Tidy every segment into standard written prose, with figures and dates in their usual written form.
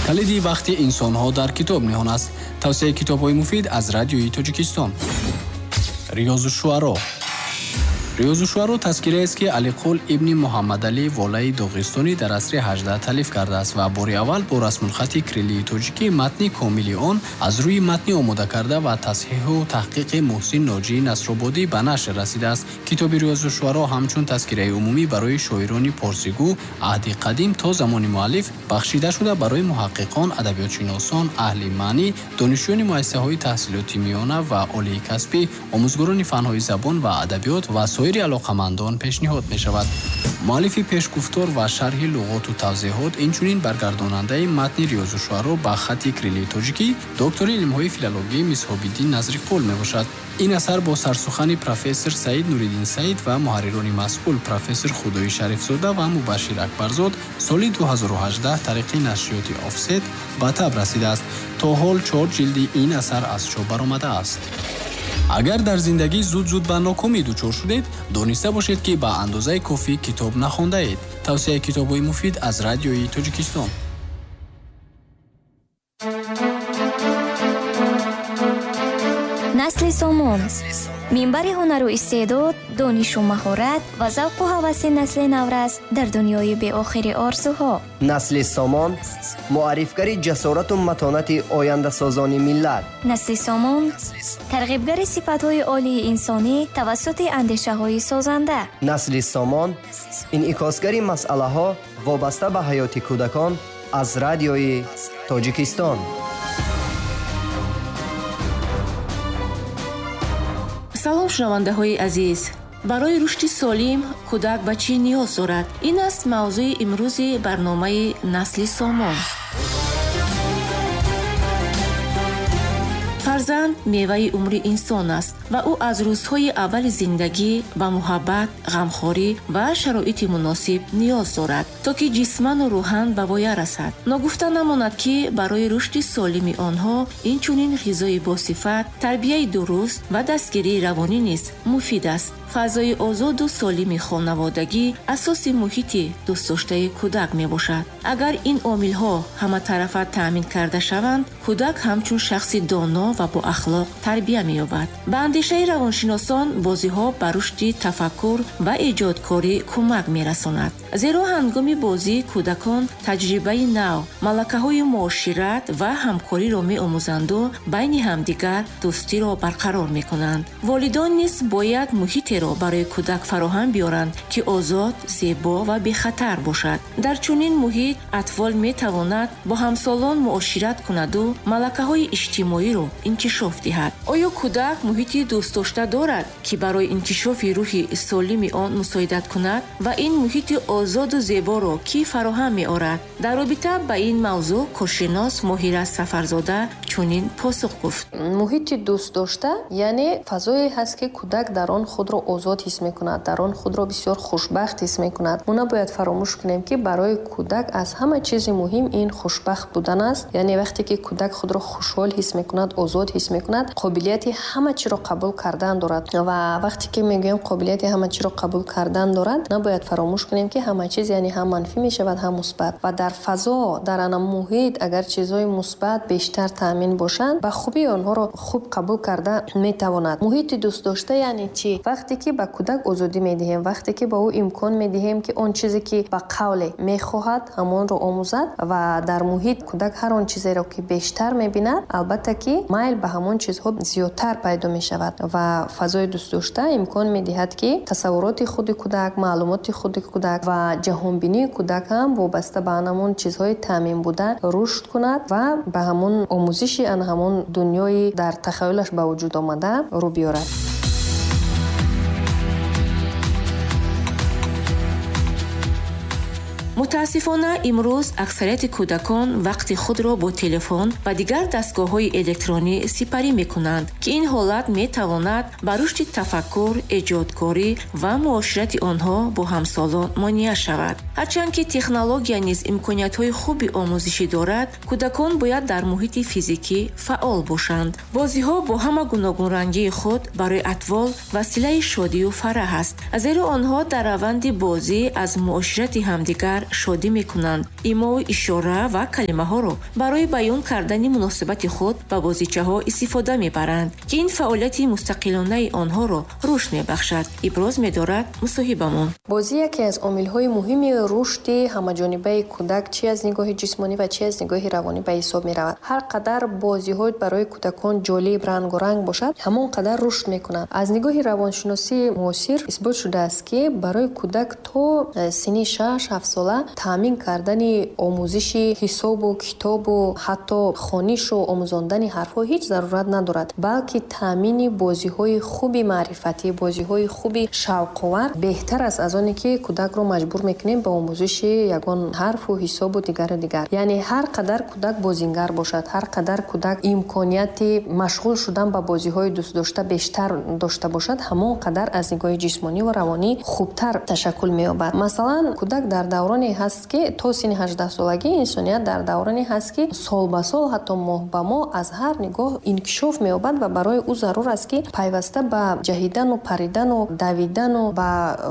Калиди вақти инсонҳо дар китоб ниҳон аст. Тавсияи китобҳои муфид аз Радиои Тоҷикистон. Риёзу-шуаро. Риёзу-шуаро тазкираест, ки Алиқул ибни Муҳаммадалӣ Волаи Доғистонӣ дар асри 18 таълиф кардааст ва бори аввал бо расмулхати кириллии тоҷикӣ матни комили он аз рӯи матни омода карда ва тасҳиҳу таҳқиқи Муҳсин Ноҷии Насрободӣ ба нашр расидааст. Китоби Риёзу-шуаро ҳамчун тазкираи умумӣ барои шоирони порсигӯ аҳди қадим то замони муаллиф бахшида шуда барои муҳаққиқон, адабиётшиносон, аҳли маънӣ, донишҷӯёни муассисаҳои таҳсилоти миёна ва олии касбӣ, омӯзгорони фанҳои забон ва адабиёт ва соири алоқамандон пешниҳод мешавад. Муаллифи пешгуфтор ва шарҳи луғоту тавзеҳот, инчунин баргардонандаи матни Риёзу-шуаро ба хати кириллии тоҷикӣ доктори илмҳои филологӣ Мисҳобиддин Назриқул мебошад. Ин асар бо сарсухани профессор Саид Нуриддин Саид ва муҳаррирони масъул профессор Худои Шарифзода ва Мубашшир Акбарзод соли 2018 тариқи нашриёти Офсет ба таб расидааст. То ҳол 4 ҷилди ин асар аз чоп баромадааст. Агар дар зиндагӣ зуд-зуд ба нокомӣ дучор шудед, дониста бошед, ки ба андозаи кофӣ китоб нахондаед. Тавсияи китобҳои муфид аз Радиои Тоҷикистон. Насли Сомон. Минбари ҳунару истеъдод, донишу маҳорат ва завқу ҳаваси насли наврас дар дунёи беохири орзуҳо. Насли Сомон муаррифгари ҷасорату матонати ояндасозони миллат. Насли Сомон тарғибгари сифатҳои олии инсонӣ тавассути андешаҳои созанда. Насли Сомон инъикосгари масъалаҳо вобаста ба ҳаёти кӯдакон аз Радиои Тоҷикистон. Салом, шунавандаҳои азиз! Барои рушди солим кӯдак ба чӣ ниёз дорад? Ин аст мавзӯи имрӯзи барномаи Насли Сомон. Фарзанд меваи умри инсон аст ва ӯ аз рӯзҳои аввали зиндагӣ ба муҳаббат, ғамхорӣ ва шароити муносиб ниёз дорад, то ки ҷисману рӯҳан ба воя расад. Ногуфта намонад, ки барои рушди солими онҳо инчунин ғизои босифат, тарбияи дуруст ва дастгирии равонӣ низ муфид аст. Фазои озоду солими хонаводагӣ асоси муҳити дӯстдоштаи кӯдак мебошад. Агар ин омилҳо ҳаматарафа таъмин карда шаванд, кӯдак ҳамчун шахси доно ва боахлоқ тарбия меёбад. Ба андешаи равоншиносон, бозиҳо ба рушди тафаккур ва эҷодкорӣ кӯмак мерасонад. Зеро ҳангоми бозӣ кӯдакон таҷрибаи нав, малакаҳои муошират ва ҳамкориро меомӯзанду байни ҳамдигар дӯстиро барқарор мекунанд. Волидон низ бояд муҳитеро барои кӯдак фароҳам биёранд, ки озод, зебо ва бехатар бошад. Дар чунин муҳит атфол метавонад бо ҳамсолон муошират кунаду малакаҳои иҷтимоиро инкишоф диҳад. Оё кӯдак муҳити дӯстдошта дорад, ки барои инкишофи рӯҳи солими он мусоидат кунад ва ин муҳити озоду зеборо кӣ фароҳам меорад? Дар робита ба ин мавзӯъ коршинос Моҳира Сафарзода чунин посух гуфт. Муҳити дӯстдошта яъне фазое ҳаст, ки кӯдак дар он худро озод ҳис мекунад, дар он худро бисёр хушбахт ҳис мекунад. Мо набояд фаромӯш кунем, ки барои кӯдак аз ҳама чизи муҳим ин хушбахт будан аст. Яъне вақте ки кӯдак худро хушҳол ҳис мекунад, озод ҳис мекунад, қобилияти ҳама чиро қабул кардан дорад. Ва вақте ки мегӯем қобилияти ҳама чиро қабул кардан дорад, набояд фаромӯш кунем, ки ҳама чиз яъне ҳам манфӣ мешавад, ҳам мусбат. Ва дар фазо, дар ана муҳит агар чизҳои мусбат бештар таъмин бошанд, ба хубӣ онҳоро хуб қабул карда метавонад. Муҳити дӯстдошта яъне чӣ? Вақте ки ба кӯдак озодӣ медиҳем, вақте ки ба ӯ имкон медиҳем, ки он чизе ки ба қавле мехоҳад, ҳамонро омӯзад ва дар муҳит кӯдак ҳар он чизеро ки бештар мебинад, албатта ки майл ба ҳамон чизҳо зиёдтар пайдо мешавад. Ва фазои дӯстдошта имкон медиҳад, ки тасаввуроти худи кӯдак, маълумоти худи кӯдак ва ҷаҳонбинии кӯдак ҳам вобаста ба ҳамон чизҳои таъмин буда рушд кунад ва ба ҳамон омӯзиши ан ҳамон дунёи дар тахаюлаш ба вуҷуд омада рӯ биёрад. Мутаассифона, имрӯз аксарияти кӯдакон вақти худро бо телефон ва дигар дастгоҳҳои электронӣ сипарӣ мекунанд, ки ин ҳолат метавонад ба рушди тафаккур, эҷодкорӣ ва муоширати онҳо бо ҳамсолон монеа шавад. Ҳарчанд ки технология низ имкониятҳои хуби омӯзишӣ дорад, кӯдакон бояд дар муҳити физикӣ фаъол бошанд. Бозиҳо бо ҳама гуногунрангии худ барои атвол василаи шодию фараҳ аст, зеро онҳо дар раванди бозӣ аз муоширати ҳамдигар шодӣ мекунанд. Имову ишора ва калимаҳоро барои баён кардани муносибати худ ба бозичаҳо истифода мебаранд, ки ин фаъолияти мустақилонаи онҳоро рушд мебахшад, иброз медорад мусоҳибамон. Бозӣ яке аз омилҳои муҳими рушди ҳамаҷонибаи кӯдак чи аз нигоҳи ҷисмонӣ ва чи аз нигоҳи равонӣ ба ҳисоб меравад. Ҳар қадар бозиҳо барои кӯдакон ҷолиб, рангоранг бошад, ҳамон қадар рушд мекунанд. Аз нигоҳи равоншиносии муосир исбот шудааст, ки барои кӯдак то синни 6-7 сола таъмин кардани омӯзиши ҳисобу китобу ҳатто хонишу омӯзондани ҳарфҳо ҳеҷ зарурат надорад, балки таъмини бозиҳои хуби маърифатӣ, бозиҳои хуби шавқовар беҳтар аст аз оне ки кӯдакро маҷбур мекунем ба омӯзиши ягон ҳарфу ҳисобу дигару дигар. Яъне ҳар қадар кӯдак бозингар бошад, ҳар қадар кӯдак имконияти машғул шудан ба бозиҳои дӯстдошта бештар дошта бошад, ҳамон қадар аз нигоҳи ҷисмонӣ ва равонӣ хубтар ташаккул меёбад. Масалан, кӯдак дар давроне ҳаст, ки то синни 18 солагӣ инсоният дар давроне ҳаст, ки сол ба сол, ҳатто моҳ ба моҳ аз ҳар нигоҳ инкишоф меёбад ва барои ӯ зарур аст, ки пайваста ба ҷаҳидану паридану давидану ба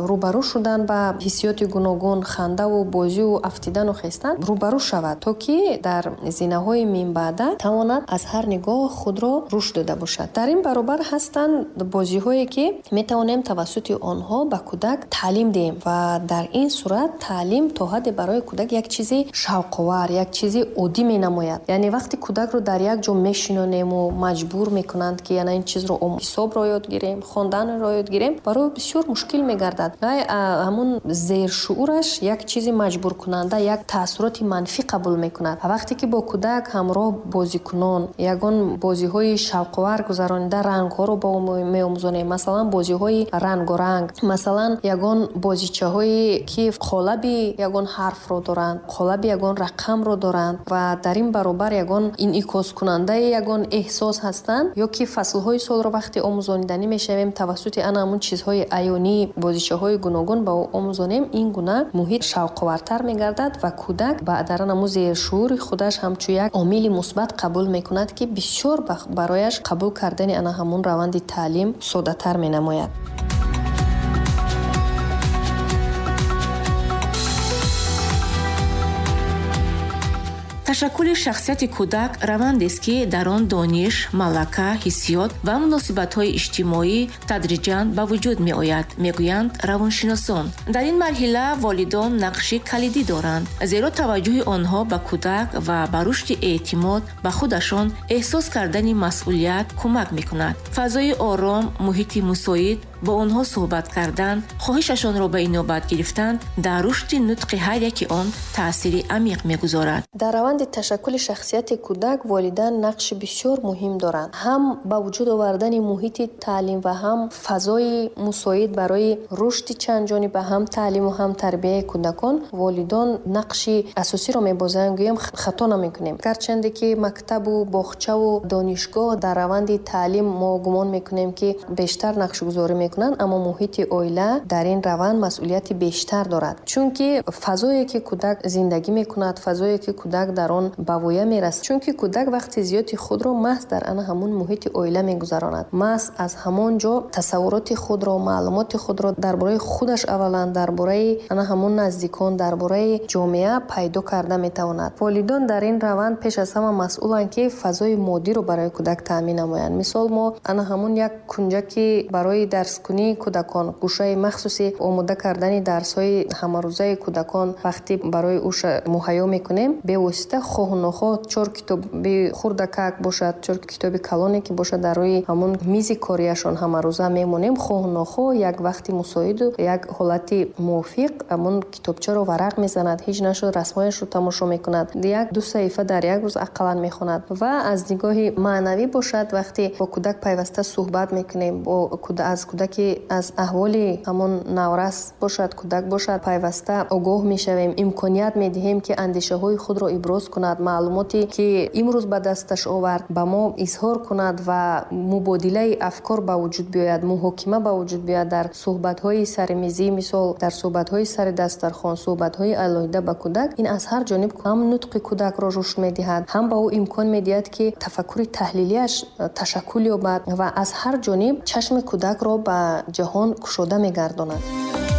рӯбарӯ шудан ба ҳиссиёти гуногун, хандаву бозиву афтидану хестан рӯбарӯ шавад, то ки дар зинаҳои минбаъда тавонад аз ҳар нигоҳ худро рушд дода бошад. Дар ин баробар ҳастанд бозиҳое, ки метавонем тавассути онҳо ба кӯдак таълим диҳем ва дар ин сурат таълим то ҳадде барои кӯдак як чизи шавқовар, як чизи оддӣ менамояд. Яъне вақте кӯдакро дар як ҷо мешинонему маҷбур мекунанд, ки яна ин чизро ҳисобро ёд гирем, хонданро ёд гирем, барои бисёр мушкил мегардад. Вай ҳамун зершуураш як чизи маҷбуркунанда, як таассуроти манфӣ қабул мекунад. Ва вақте ки бо кӯдак ҳамроҳ бозикунон ягон бозиҳои шавқовар гузаронида рангҳоро ба ӯ меомӯзонем, масалан бозиҳои рангоранг, масалан ягон бозичаҳое ки қолаби ягон ҳарфро доранд, қолаби ягон рақамро доранд ва дар ин баробар ягон инъикоскунандаи ягон эҳсос ҳастанд, ё ки фаслҳои солро вақте омӯзониданӣ мешавем тавассути ана ҳамун чизҳои аёнӣ, бозичаҳои гуногун ба ӯ омӯзонем, ин гуна муҳит шавқовартар мегардад ва кӯдак ба дар ана зершуури худаш ҳамчун як омили мусбат қабул мекунад, ки бисёр барояш қабул кардани ана ҳамун раванди таълим соддатар менамояд. Ташаккули шахсияти кӯдак равандест, ки дар он дониш, малака, ҳиссиёт ва муносибатҳои иҷтимоӣ тадриҷан ба вуҷуд меояд, мегӯянд равоншиносон. Дар ин марҳила волидон нақши калидӣ доранд, зеро таваҷҷӯҳи онҳо ба кӯдак ва ба рушди эътимод ба худашон, эҳсос кардани масъулият кӯмак мекунад. Фазои ором, муҳити мусоид, бо онҳо суҳбат кардан, хоҳишашонро ба инобат гирифтан дар рушди нутқи ҳар яки он таъсири амиқ мегузорад. Дар раванди ташаккули шахсияти кӯдак волидайн нақши бисёр муҳим доранд. Ҳам ба вуҷуд овардани муҳити таълим ва ҳам фазои мусоид барои рушди чандҷониба, ҳам таълиму ҳам тарбияи кӯдакон волидон нақши асосиро мебозанд, гӯем хато намекунем. Гарчанде ки мактабу боғчаву донишгоҳ дар раванди таълим мо гумон мекунем, ки бештар нақшгузорӣ мекунанд, аммо муҳити оила дар ин раванд масъулияти бештар дорад. Чунки фазое ки кӯдак зиндагӣ мекунад, фазое ки кӯдак дар он ба воя мерасад, чунки кӯдак вақти зиёди худро маҳз дар ана ҳамун муҳити оила мегузаронад. Маҳз аз ҳамон ҷо тасаввуроти худро, маълумоти худро дар бораи худаш аввалан, дар бораи ана ҳамун наздикон, дар бораи ҷомеа пайдо карда метавонад. Волидон дар ин раванд пеш аз ҳама масъуланд, ки фазои моддиро барои кӯдак таъмин намоянд. Мисол, мо ана ҳамун як кунҷаки барои дарскунии кӯдакон, гӯшаи махсуси омода кардани дарсҳои ҳамарӯзаи кӯдакон вақте барои ӯ муҳайё мекунем, бевосита хоҳу нохоҳ чор китоби хурдакак бошад, чор китоби калоне ки бошад, дар рӯи ҳамун мизи кориашон ҳамарӯза мемонем. Хоҳу нохоҳ як вақти мусоиду як ҳолати мувофиқ ҳамун китобчаро варақ мезанад, ҳеҷ нашуд расмҳояшро тамошо мекунад, як-ду саҳифа дар як рӯз ақаллан мехонад. Ва аз нигоҳи маънавӣ бошад, вақте бо кӯдак пайваста суҳбат мекунем, аз кӯдаки ки аз аҳволи ҳамон наврас бошад, кӯдак бошад, пайваста огоҳ мешавем, имконият медиҳем, ки андешаҳои худро иброз кунад, маълумоте ки имрӯз ба дасташ овард, ба мо изҳор кунад ва мубодилаи афкор ба вуҷуд биёяд, муҳокима ба вуҷуд биёяд дар суҳбатҳои саримизӣ, мисол дар суҳбатҳои сари дастархон, суҳбатҳои алоҳида ба кӯдак. Ин аз ҳар ҷониб ҳам нутқи кӯдакро рушд медиҳад, ҳам ба ӯ имкон медиҳад, ки тафаккури таҳлилиаш ташаккул ёбад ва аз ҳар ҷониб чашми кӯдакро ба ҷаҳон кушода мегардонад.